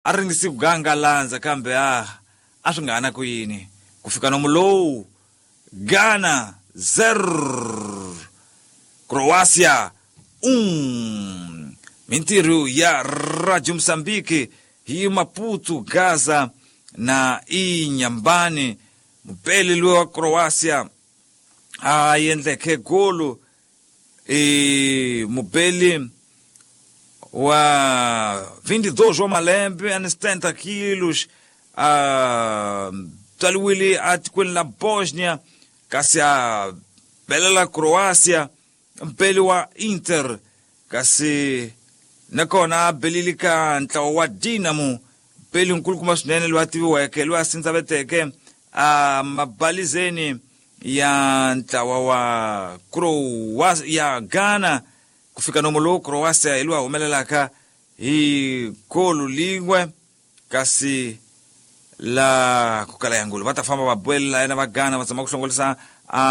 A ringisi ku ganga landza kambe a a swi nga ha na ku yini ku fika nomu lowu Ghana 0 Croatia 1 Mintirho ya Radio Mozambique hi Maputo, Gaza na Inhambane. Mupeli loyi wa Croatia a endleke golo i mupeli wa 22 wa malembe a ni 70 kilos a tswariwile atikweni la Bosnia kasi a belela Croatia mpeli wa Inter kasi nakona a belile ka ntlawa wa Dinamo mpeli nkulukumba swinene loyi a tiviweke loyi a sindzaveteke a mabalizeni ya ntlawa wa Croatia ya Ghana ku fika nomo lowu Croatia hi loyi a humelelaka hi golu lin'we kasi la ku kala yangulu va ta famba va buelela yena va Ghana va zama ku hlongolisa a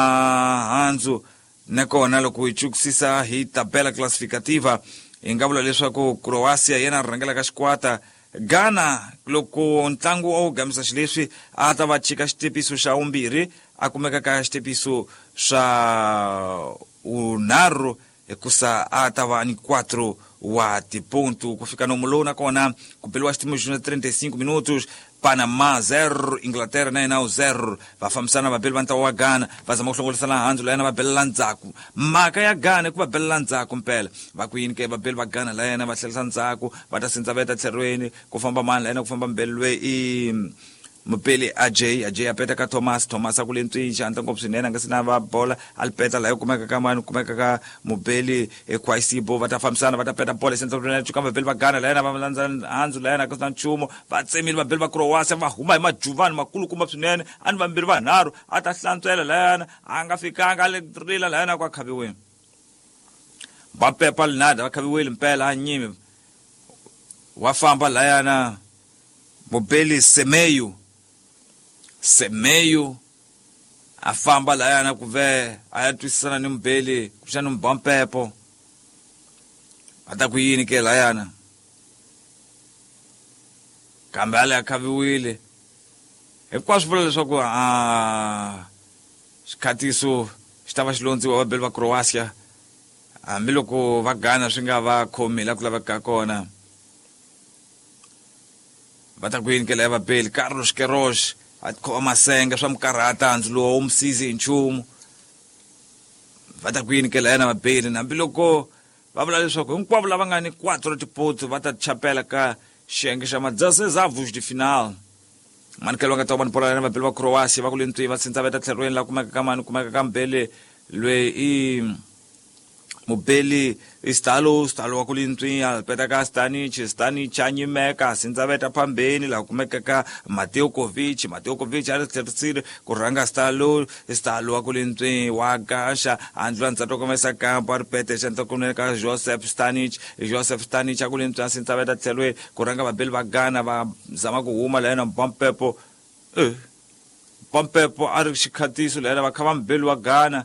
handzu nakona loko hi chukusisa hi tabela classificativa hi nga vula leswaku Croatia yena rhangelaka xikwata Ghana loko ntlangu a wu gamisa xileswi a ta va chika xitepiso xa vumbirhi a kumeka ka xitepiso swa unharhu hikusa a ta va ni 4 wa tiponto ku fika nomu lowu nakona ku beliwa xitimo xa 35 minutos Panama 0 Inglaterra na yena 0 va fambisana vabeli va ntlawa wa Ghana va zama ku hlongolisana handzu la yena va belela ndzhaku mhaka ya Ghana i ku va belela ndzhaku mpela va ku yini ke vabeli va Ghana la yena va tlherisa ndzhaku va ta sindzaveta tlherweni ku famba mani la yena ku famba mbeli loyi i mupeli Ajay Ajay a peta ka Thomas Thomas a ku le ntswini xandla ngopfu swinene a nga se na va bola a li peta laha yi kumeka ka mani kumeka ka mupeli eKwaisibo va ta fambisana va ta peta bola xandla cuka vabeli va Ghana la yena va landza handzu la yena a ku na nchumu va tsemile vabeli va Croatia va huma hi majuvani makulukumba swinene a ni vambirhi vanharhu a ta hlantswela layana a nga fikanga a le rila layana ku a khaviweni va pepa linada va khaviwile mpela a nyimi wa famba layana mubeli Semeyu Semeyu a famba layana ku ve a ya twisisana ni mubeli kuxani mubampepo a ta ku yini ke layana kambe a le a khaviwile hinkwaswo vula leswaku a xikhatiso xi ta va xi londziwa vabeli va Croatia hambiloko va Ghana swi nga va khomi la ku lavekaka kona va ta ku yini ke la ya vabeli Carlos Queiroz a khoma masenge swa mukarhata handzu lowu wu musizi hi nchumu va ta ku yini ke la yena vabeli hambiloko va vula leswaku hinkwavo lava nga ni 4 tipotso va ta chapela ka xiyenge xa ma-16 de final manikelo va nga ta va ni bola na vabeli va Croatia va ku le ntwini va sindzaveta tlherweni la kumeka ka mani kumeka ka mbele loyi i mubeli Stalo Stalo wa ku le ntswini a peta ka Stanic Stanic a nyimeka sindzaveta phambeni laha kumeka ka Mateo Kovic Mateo Kovic a ri tlherisile ku rhanga Stalo Stalo wa ku le ntswini wa gaxa a ndlula ndzhaku komesa kampo a ri pete xandla kunene ka Joseph Stanic Joseph Stanic a ku le ntswini a sindzaveta tlhelweni ku rhanga vabeli va Ghana va zama ku huma la yena Mpampepo Mpampepo a ri xikhatiso la yena va kha va mubeli wa Ghana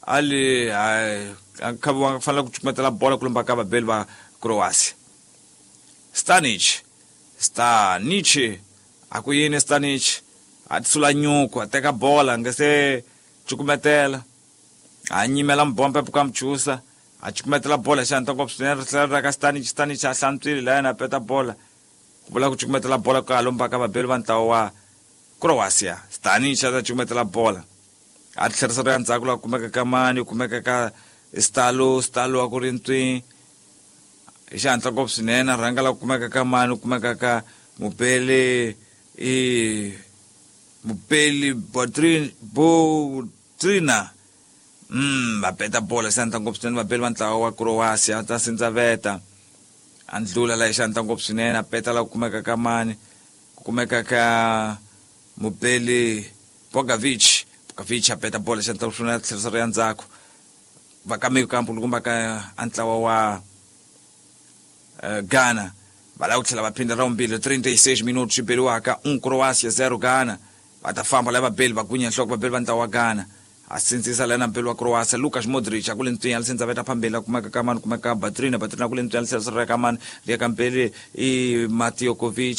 ali a kha va fanele ku cukumetela bola ku lomba ka vabeli va Croatia Stanic Stanic a ku yini Stanic a tisula nyuku a teka bola nga se cukumetela a nyimela mbombe ka mchusa a cukumetela bola xandla ngopfu swinene ri tlhela ri ka Stanic Stanic a hlantswile la yena a peta bola ku vula ku cukumetela bola ka lomba ka vabeli va ntlawa wa Croatia Stanic a ta cukumetela bola a tlherisa ri ya ndzhaku laha kumeka ka mani kumeka ka Stalo Stalo wa ku ri ntswi hi xihatla ngopfu swinene a rhanga laha kumeka ka mani kumeka ka mupeli i mupeli Botrina va peta bola xihatla ngopfu swinene vabeli va ntlawa wa Croatia ta sindzaveta a ndlula laha hi xihatla ngopfu swinene a peta laha kumeka ka mani kumeka ka mupeli Bogovic Bogovic a peta bola xandla swinene a tlherisa ri ya ndzhaku va ka kampo loko va ka a ntlawa wa Ghana va lava ku tlhela va phinda ra vumbirhi 36 minutos swi beriwaka 1 Croatia 0 Ghana va ta famba lava beli va gunya nhloko vabeli va ntlawa wa Ghana A sindzisa lena mpelo wa Croatia Lukas Modric a kule ntwinya lisindza veta phambili kumeka ka mani, kumeka Batrina, Batrina kule ntwinya lisindza ka mani, liya ka mpeli i Matiokovic.